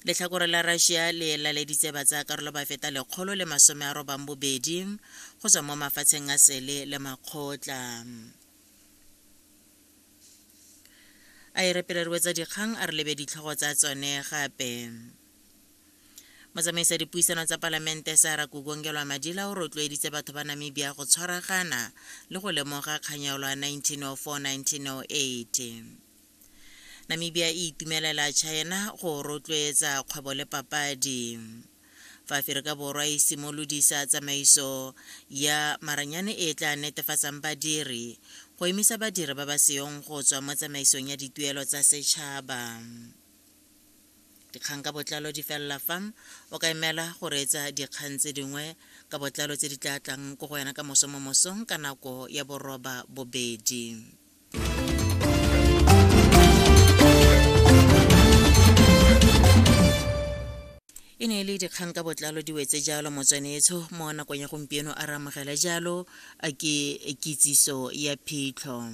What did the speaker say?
Letlhakore la Russia le laleditse batsayakarolo ba feta 182 go tswa mo mafatsheng a sele le makgotla. A e re pele re wetsa dikgang a re lebe ditlhogo tsa tsone gape. Motsamaisa dipuisano tsa palamente Sarah Kuugongelwa Madila o rotloeditse batho ba Namibia go tshwaragana le go lemoga kganyaolo ya 1904-1908. Namibia e itumelela China go rotloetsa kgwebo le papadi. Fa Aferika Borwa e simolodisa tsamaiso ya maranyane e e tla netefatsang badiri go emisa badiri ba ba seyong go tswa mo tsamaisong ya dituelo tsa setšhaba. Dikgang ka botlalo di felela fa. O ka emela go reetsa dikgang tse dingwe ka botlalo tse di tla tlang ko go wena ka moso mo mosong ka nako ya boroba bobedi. E ne e le dikgang ka botlalo di wetse jalo motswanetsho mo nakong ya gompieno a re amogela jalo a ke kitsiso ya phitlho.